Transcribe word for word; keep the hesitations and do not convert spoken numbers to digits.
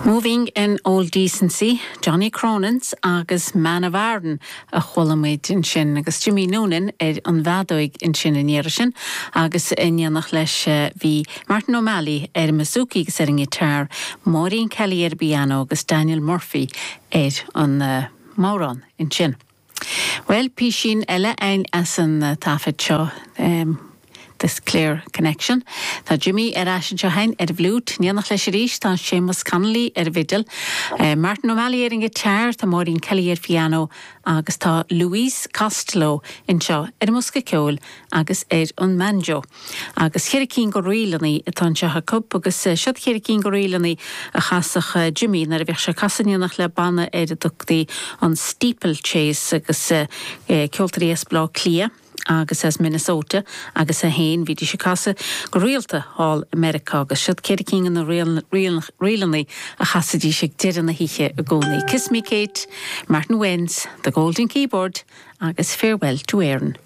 Moving in Old Decency, Johnny Cronin's agus Man of Aran a chuala muid ansin agus Jimmy Noonan ar an bhfeadóig ansin an iarraidh sin agus in éineacht leis bhí Martin O'Malley ar an mbouzouki agus ar an ngiotár, Maureen Kelly ar piano agus Daniel Murphy ar an uh, mbodhrán ansin. Well písín eile ein as an uh, taifead seo um, this Clare Connection. Tá Jimmy ar ais anseo féin ar bhfliúit, in éineacht leis arís tá Seamus Connolly ar bhfidil, uh, Martin O'Malley ar an ngiotár, tá Maureen Kelly ar piano agus tá Louise Costello anseo ar an mbosca ceoil agus ar an mbanjo. Agus ceithre cinn de ríleanna atá anseo acu agus uh, siod ceithre cinn de ríleanna a chasadh Jimmy nuair a bhíodh sé ag casadh in éineacht le banna ar a dtugtaí an Steeplechase agus uh, ceoltóirí as Baile Átha Cliath. agus as Minnesota agus é féin bhídís ag casadh go rialta thall i Meiriceá agus siod ceithre cinn de na ríleanna a chasaidís ag deireadh na hoíche i gcónaí. Kiss Me Kate, Martin Wynne's, The Golden Keyboard agus Farewell to Erin.